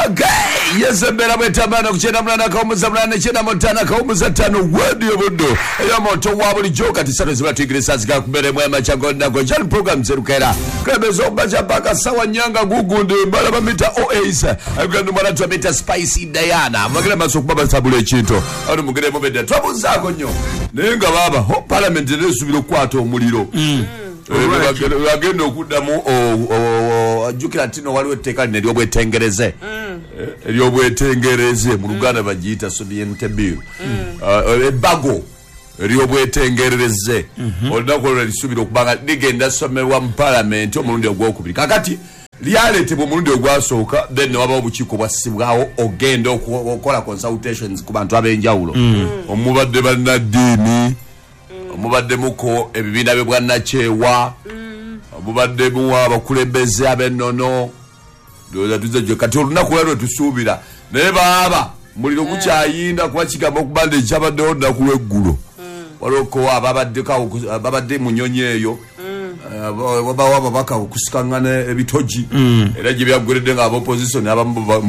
Okay, yes, embeera bwetambana ku 98.895 Radio Buddo ey'omuntu wa bulijjo. Kati 3 ziba tuyigire saa ziga kubeera emu amakya gonnako kyali program zerukeera kulembeza okubaca paka sawa nyanga gugundi balaba mita oas agenda mwana twamita Spice Diana mugere maaso okuba basabula ekintu ani mugere mubedde twabuzaako nnyo, naye nga baaba ho parliament era esuubira okukwata omuliro. Bagenda okuddamu ajjukira nti no waliwo etteeka lino eryobwetengereze, eryobwetengereze mu Luganda bagiyita sovereignty bill, ebbago eryobwetengereze. Olunaku olwo lisuubira okuba nga ligenda somebwa mu palamenti omulundi ogwokubiri. Kakati lyaleetebwa omulundi ogwasooka, then newabawo obukiiko bwassibwawo ogenda okukola consultations ku bantu ab'enjawulo, omubadde bannaddiini, omubaddemuko ebibiina byebwannakyewa, omubaddemu abakulembeze ab'ennono. Ndowooza tuzze gye kati olunaku lwa lwe tusuubira, naye baaba muliro gukyayinda kuba kigamba okuba nti ekyabaddewo olunaku lw'eggulo waliwo ababaddeko babadde mu nnyonyi eyo, wabawo ababaka okusikangana ebitogi, era gye byaggweredde nga aba opposition abamu